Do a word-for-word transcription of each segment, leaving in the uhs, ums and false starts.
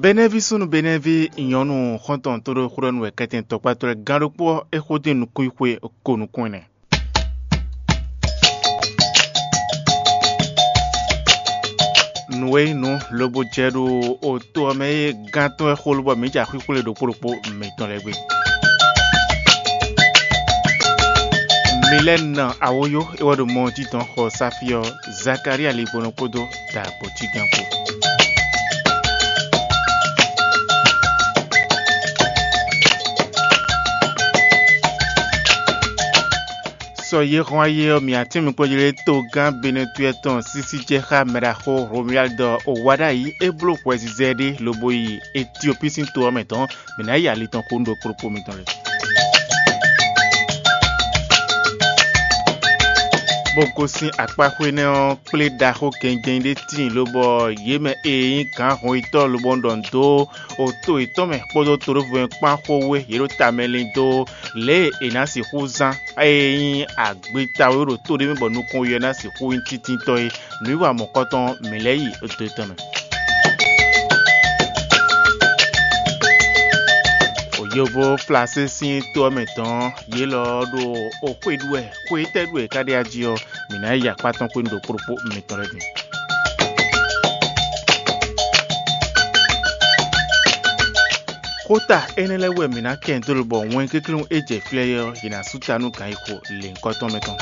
Benɛ́ví súnnu Benɛ́ví nyɔ̌nu xɔ́ntɔn tóɖó xwlɔ́nú wɛ kɛntɛn tɔkpátɔ́ lɛ́ɛ gán ɖokpó ɔ́, é xo dín nukúnxwé ko nukún ɛnɛ. Nǔ e nyí nǔ lobo jɛ ɖo oto ɔ́ mɛ é gán tɔn wɛ xó lobɔ mǐ ja xwíxwlé ɖokpó ɖokpó mǐtɔn lɛ́ɛ gbe. Mi lɛ́ nɔ awoyó é wɛ ɖo mɔ jí dɔn xɔ sáfí ɔ́, Zakalía ligbɔnɔ kpódó dǎgbɔ́ cígán kpó. Sɔ yě hɔn ayé ɔ́, mǐ atínmikpɔ́jlé togán Benɛtúɛ tɔn sísí jɛ xá mɛɖaxó Romuald ɔ́, wá ɖ'ayǐ é bló hwɛzizɛ ɖé lobo yi Etiopíi sín to ɔ́ mɛ tɔn, mǐ ná yi ali tɔn xo nú ɖokpó ɖokpó mitɔn lɛ́ɛ. Bó gosín akpáxwé nɛ́ ɔ́, kplé ɖaxó gɛngɛn ɖé tíin lobɔ yě mɛ e nyí gǎn hɔnyitɔ́ lobɔ ɖɔ nǔ dó oto yětɔn mɛ kpódó toɖóvɔ́ kpán xó wé yě ɖo tamɛ lin dó lě e è nǎ sixú zán e nyí agbeta e ɖo tó ɖé mɛ bɔ nukɔn ɔ́ ná sixú nyí tíntɔ́ é. Nǔwiwa mɔ̌kɔtɔn mǐ lɛ́ yi do tɔn mɛ. Yovó Flasé sín to ɔ́ mɛ tɔn, yě lɔ ɔ́ ɖo xwé ɖu wɛ, xwé tɛ́ ɖu wɛ é ka ɖe ají ɔ́, mǐ ná yi akpá tɔn xwé nú ɖokpó ɖokpó mitɔn lɛ́ɛ din. Xóta énɛ́ lɛ́ɛ wɛ mǐ ná kɛ dó lobɔ wɛn kéklún e jɛ fí lɛ́ɛ ɔ́, yě ná sú ta nú gǎnyixo lěhunkɔtɔn mɛ tɔn.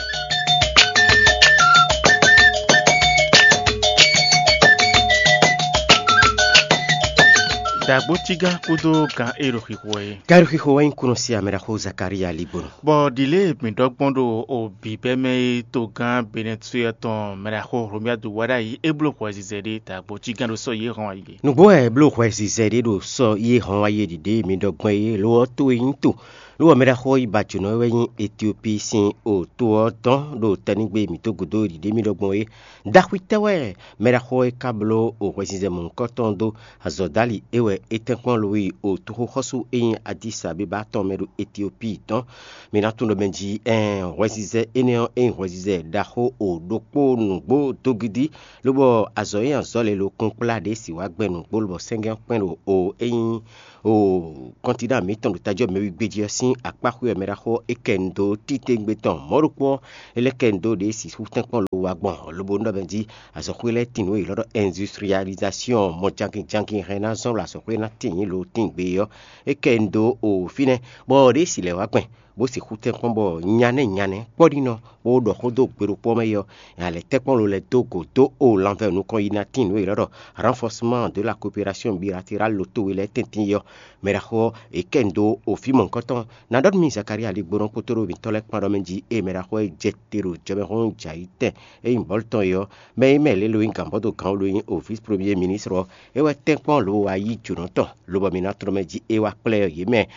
Dǎgbó cígán kúdó gǎn e ɖo xixo wɛ é. Gǎn e ɖo xixo wɛ nyí kúnɔ sí amɛɖaxó Zakalía ligbɔnɔ. Bɔ ɖi lě e mǐ ɖɔ gbɔn ɖo o bǐbɛ́ mɛ e togán Benɛtúɛ tɔn mɛɖaxó Hlomyadu wá ɖ'ayǐ é bló hwɛzizɛ ɖé dǎgbó cígán ɖo sɔ́ yě hɔn ayǐ. Nǔgbó wɛ è bló hwɛzizɛ ɖé ɖo sɔ́ yě hɔn ayǐ ɖiɖe e mi ɖɔ gbɔn é, lo ɔ́, to e nyí to, lo ɔ́, mɛɖaxó ɔ́ yi ba jǒnɔ wɛ nyí Etiopíi sín o to ɔ́ dɔn ɖo tɛnígbe mǐtɔn gǔdo ɖiɖe mi ɖɔ gbɔn é. Ɖaxwitɛ́ wɛ mɛɖaxó ɔ́ e ka bló o hwɛzizɛ mɔ̌hunkɔtɔn dó azɔ̌dali é wɛ é tɛ́nkpɔ́n lo yi o toxoxɔ́sú e nyí Adisabeba tɔn mɛ ɖo Etiopíi dɔn. Mi ná tunwun ɖɔ mɛ jí ɛɛn hwɛzizɛ énɛ́ ɔ́, é nyí hwɛzizɛ ɖaxó o ɖokpó nǔgbó dó gidi, lobɔ azɔ̌ e azɔ̌ lě lo kún kplá ɖě si wá gbɛn nǔgbó lobɔ sɛ́ngɛ́n kpɛ́n ɖo o é nyí o kɔntinaa mǐtɔn ɖo tajɔ́ mɛwígbé jí ɔ́ sín akpáxwé wɛ mɛɖaxó ɔ́ é kɛ nu dó titewungbe tɔn mɔ̌ ɖokpó ɔ́, é lɛ́ kɛ nu dó ɖě sixú tɛ́nkpɔ́n lo wá gbɔn, lobo nú ɖɔ mɛ jí azɔ̌xwé lɛ́ɛ tín nǔ e è ylɔ́ ɖɔ industrialisation mɔ jankin jankin hɛn ná zɔ́n ɖo azɔ̌xwé ná tín nyǐ lo tín gbe é ɔ́, é kɛ nu dó o fínɛ́, bɔ ɖě si lɛ̌ wá gbɛn bó sixú tɛ́nkpɔ́n bɔ nyanɛ́ nyanɛ́ kpɔ́ɖínɔ bó ɖɔ xó dó gbe ɖokpó ɔ́ mɛ é ɔ́, nya lɛ́ tɛ́nkpɔ́n lo lɛ́ dó gǒ dó o lanvɛ nukɔn yi ná tín nǔ e è ylɔ́ ɖɔ renforcement de la coopération bilatérale lo towe lɛ́ɛ tɛ́ntin é ɔ́, mɛɖaxó ɔ́, è kɛ nu dó o fí mɔ̌hunkɔtɔn. Ná ɖɔ nú mi Zakalía ligbónɔ kpódó mǐtɔn lɛ́ɛ kpán ɖɔ mɛ jí ée mɛɖaxó ɔ́ jɛ te ɖo jɔmɛhún jɛ ayǐ tɛn e nyí bɔ̌lu tɔn é ɔ́, mɛ e mɛ lě lo nyí gǎnbɔ́dó gǎn lo nyí o vǐs premier ministre ɔ́, é wɛ tɛ́nkpɔ́n lo wá yí jǒnɔ tɔn, lobɔ mi ná tlɔ́ mɛ jí é wá kplá ɛ yě mɛ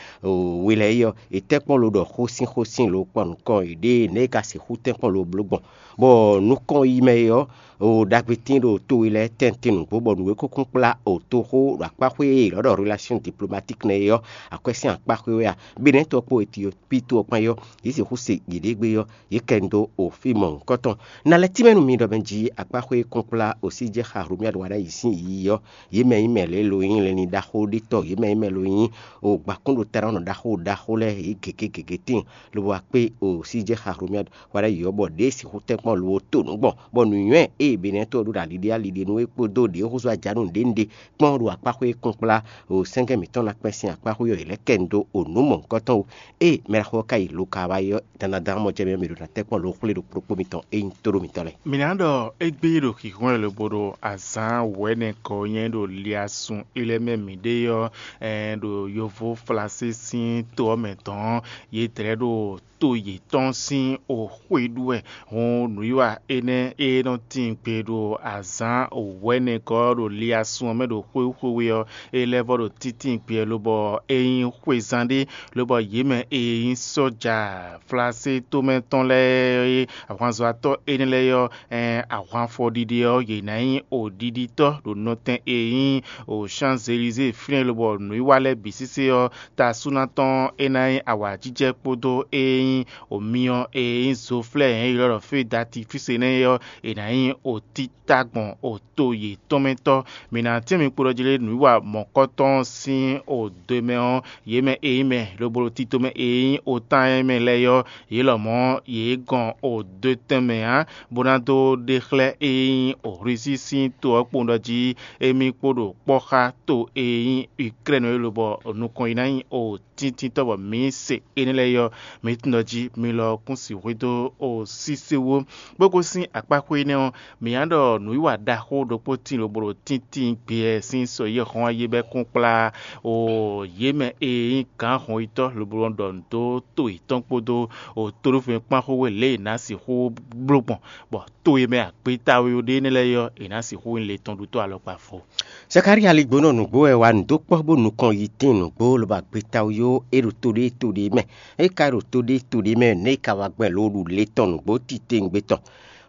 we lɛ́ɛ é ɔ́, è tɛ́nkpɔ́n lo ɖɔ xósin xósin lo kpɔ́n nukɔn yěɖée nɛ̌ é ka sixú tɛ́nkpɔ́n lo bló gbɔn, bɔ nukɔn yi mɛ é ɔ́, o ɖagbetín ɖo to e lɛ́ɛ tɛ́ntin nǔgbó bɔ nǔ e kúnkún kplá o toxó ɖo akpáxwé e è ylɔ́ ɖɔ relation diplomatique nɛ́ é ɔ́, akwɛ́ sín akpáxwé wɛ a? Benɛ́ to ɔ́ kpó Etiopíi to ɔ́ kpán é ɔ́, yě sixú se yěɖée gbé ɔ́, yě kɛ nu dó o fí mɔ̌hunkɔtɔn. Na lɛ́ tínmɛ nú mi ɖɔ mɛ jí akpáxwé e kún kplá o sí jɛ xa Hlomyadu wá ɖ'ayǐ sín yiyi ɔ́, yě mɛ nyí mɛ lě lo nyí lɛnlin ɖaxó ɖé tɔn, yě mɛ nyí mɛ lo nyí o gbakún ɖo tɛ́nɔ́nɔ ɖaxó ɖaxó lɛ́ɛ yě gěgé gěgé tíin, lobo wá kpé o sí jɛ xa Hlomyadu wá ɖ'ayǐ ɔ́, bɔ ɖě sixú tɛ́nkpɔ́n lo to nǔ gbɔn, bɔ nǔnywɛ́ e Benɛ́ to ɔ́ ɖó ɖo ali ɖé ali ɖé nú é kpódó ɖě húzú ajǎnú ɖě ɖě kpɔ́n ɖo akpáxwé e kún kplá o sɛ́ngɛ́ mǐtɔn ná kpɛ́n sín akpáxwé ɔ́, yě lɛ́ kɛ nu dó o nǔ mɔ̌hunkɔtɔn wú. Ée mɛɖaxó ɔ́ ka yi Luka wá é ɔ́, dandan mɔ jɛ mɛ mɛ ɖo ná tɛ́nkpɔ́n lo xwlé ɖo kplɔ́kpó mitɔn e nyí tóɖó mitɔn lɛ́ɛ. Mǐ ná ɖɔ égbé ɖo xixɔ́n e lobo ɖo azǎn wɛ̌nɛkɔ nyɛ ɖo liasun ilɛ́ mɛ mǐɖée ɔ́, ɛɛ ɖo yovo Flasé sín to ɔ́ mɛ tɔn ɔ́, yě dlɛ̌ ɖo to yětɔn sín o xwé ɖu wɛ. Hɔn nǔwiwa énɛ́ e nɔ tín gbe ɖo azǎn wɛ̌nɛkɔ ɖo liasun ɔ́ mɛ ɖo xwéxwé ɔ́, é lɛ́ vɔ ɖo títí gbe lobɔ é nyí xwezán ɖé, lobɔ yě mɛ e nyí sɔ́ja Flasé tomɛ tɔn lɛ́ɛ e ahwanzɔ́watɔ́ énɛ́ lɛ́ɛ ɔ́, ɛn ahwanfɔɖiɖe ɔ́, yě ná nyí oɖiɖitɔ́ ɖo nɔtɛn e nyí o Champs-Élysées fínɛ́, lobɔ nǔwiwa lɛ́ɛ bǐ sésé ɔ́, ta súná tɔn é ná nyí awǎjijɛ kpódó e nyí o myɔ e nyí zoflɛ́ e ylɔ́ ɖɔ feu d'artifice énɛ́ ɔ́, è nǎ nyí o títá gbɔn o to yětɔn mɛ tɔ́. Mǐ ná tɛ́n mi kpo ɖɔ jí lé nǔwiwa mɔ̌kɔtɔn sín o do e mɛ ɔ́, yě mɛ e nyí mɛ lobo ɖo tito mɛ e nyí o tán e mɛ lɛ́ɛ ɔ́, yě lɔmɔ̌ yě gɔn o do tɛn mɛ ǎ, bó ná dó ɖe xlɛ́ e nyí o Hlwisí sín to ɔ́ kpowun ɖɔ jí émí kpo ɖo kpɔ́ xá to e nyí Uklɛ́nu é lobɔ nukɔn yi ná nyí o tíntíntɔ́ bɔ mǐ se énɛ́ lɛ́ɛ ɔ́, mǐ tunwun ɖɔ jí mi lɔ kún sixú dó o sísewó. Bó gosín akpáxwé énɛ́ ɔ́, mǐ ná ɖɔ nǔwiwa ɖaxó ɖokpó tíin lobo ɖo tíntín gbeyɛ sín sɔ yi hɔn ayé bɛ́ kún kplá o yě mɛ e nyí gǎn hɔnyitɔ́ lobo nɔ ɖɔ nǔ dó to yětɔn kpódó o tóɖófɛn kpán xó we lě e è nǎ sixú bló gbɔn, bɔ to e mɛ agbeta we ɖé énɛ́ lɛ́ɛ ɔ́, è nǎ sixú nyí le tɔn ɖutɔ́ alɔkpa vo. Zakalía ligbónɔ nǔgbó wɛ wa nǔ dó kpɔ́ bó nukɔn yi tíin nǔgbó lobo agbeta wú é ɖo to ɖé to ɖé mɛ. É ka ɖo to ɖé to ɖé mɛ nɛ̌ é ka wá gbɛn lo ɖu le tɔn nǔgbó titewungbe tɔn.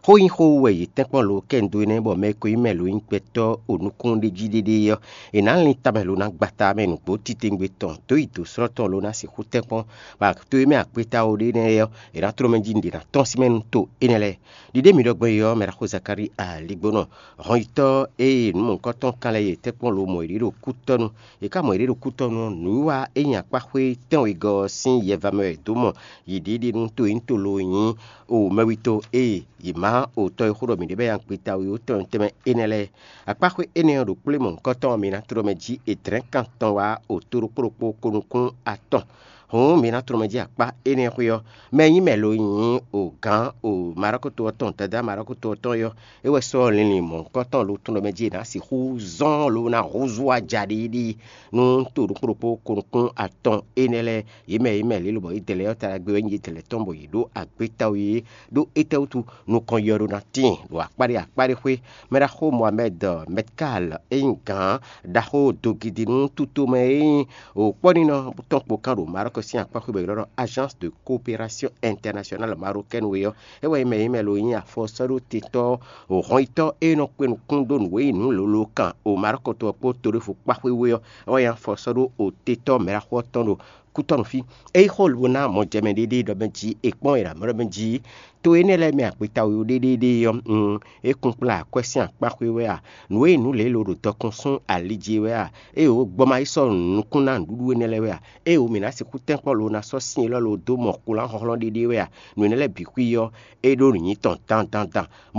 Xó nyí xó wú wɛ yě tɛ́nkpɔ́n lo kɛ un dó énɛ́ bɔ mɛ e ko nyí mɛ lo nyí gbɛtɔ́ o nukúnɖéjíɖéɖé ɔ́, è nǎ lin tamɛ lo ná gbata mɛ nǔgbó titewungbe tɔn dó yi dǒ slɔ́ tɔn lo ná sixú tɛ́nkpɔ́n, bɔ to e mɛ agbeta wú ɖé nɛ́ ɔ́, è nǎ tló mɛ jí un ɖě ná tɔ́n sín mɛ nú to énɛ́ lɛ́ɛ. Ɖiɖe mǐ ɖɔ gbɔn é ɔ́, mɛ ɖaxó Zakalía ligbónɔ, hɔnyitɔ́ e nǔmɔ̌kɔtɔn kan lɛ́ɛ yě tɛ́nkpɔ́n lo mɔ yě ɖo kútɔ́nu. È ka mɔ yě ɖo kútɔ́nu ɔ́, nǔwiwa e nyi akpáxwé tɛ́nwegɔ́ ɔ́ sín yɛva mɛ wɛ è dǒ mɔ yě ɖiɖi nú to e nyí to lo nyí o mɛwito e yě má o tɔ́ e xó ɖɔ mǐ ɖe bɛ́ nyi agbeta wú tɛnmɛ tɛnmɛ énɛ́ lɛ́ɛ. Akpáxwé énɛ́ ɔ́ ɖo kplé mɔ̌hunkɔtɔn ɔ́, mi ná tló mɛ jí è dlɛ̌n kan tɔn wá o to ɖokpó ɖokpó ko nukún atɔn. Hǔn mi ná tló mɛ jí akpá énɛ́ xwé ɔ́, mɛ e nyí mɛ lo nyí o gǎn o Maɖɔ́kúto ɔ́ tɔn, dadá Maɖɔ́kúto ɔ́ tɔn é ɔ́, é wɛ sɔ́ linlin mɔ̌hunkɔtɔn lo tɔn ɖɔ mɛ jí è nǎ sixú zɔ́n lo ná húzú ajaɖiɖi nú to ɖokpó ɖokpó ko nukún atɔn énɛ́ lɛ́ɛ. Yě mɛ yě mɛ lě lobɔ yě dɛ lɛ́ɛ ɔ́ ta ɖagbe wɛ nyí yě dɛ lɛ́ɛ tɔn bɔ yě ɖó agbeta wú yě ɖó étɛ́wútu nukɔn yɔ ɖó ná tíin ɖo akpáɖé akpáɖé xwé. Mɛɖaxó Mohamed Metkal e nyí gǎn ɖaxó dogidi nú tutomɛ e nyí wǒkpɔ́ninɔ tɔn kpo kán ɖo Maroc sín akpáxwé bɔ è ylɔ́ ɖɔ Agence de Coopération Internationale Marocaine we ɔ́, é wɛ nyí mɛ e nyí mɛ lo nyí afɔsɔ́ɖótetɔ́ hɔnyitɔ́ e nɔ kpé nukún ɖó nǔ e nyí nǔ lolo kan o Maroc to ɔ́ kpó toɖéfo kpáxwé we ɔ́, é wɛ nyí afɔsɔ́ɖótetɔ́ mɛɖaxó ɔ́ tɔn ɖo kútɔ́nú fí. É yí xó lobo ná mɔjɛmɛ ɖéɖé ɖɔ mɛ jí è kpɔ́n è ɖo amɔ̌ ɖɔ mɛ jí to énɛ́ lɛ́ɛ mɛ akpeta wěwé ɖéɖéɖé ɔ́, un, é kún kplá akwɛ́ sín akpá xwé wɛ a? Nǔ e nǔ lě lo ɖo dɔkun sún ali jí é wɛ a? Ée wǒ gbɔ ma yi sɔ́ nukún ná nǔɖuɖu énɛ́ lɛ́ɛ wɛ a? Ée wǒ mǐ ná sixú tɛ́nkpɔ́n lo ná sɔ́ sin élɔ́ lo dó mɔ kplɔ́n hlɔ́nhlɔ́n ɖéɖé wɛ a? Nǔ énɛ́ lɛ́ɛ bǐ xwí ɔ́, é ɖó nǔ nyi tɔn dandandan.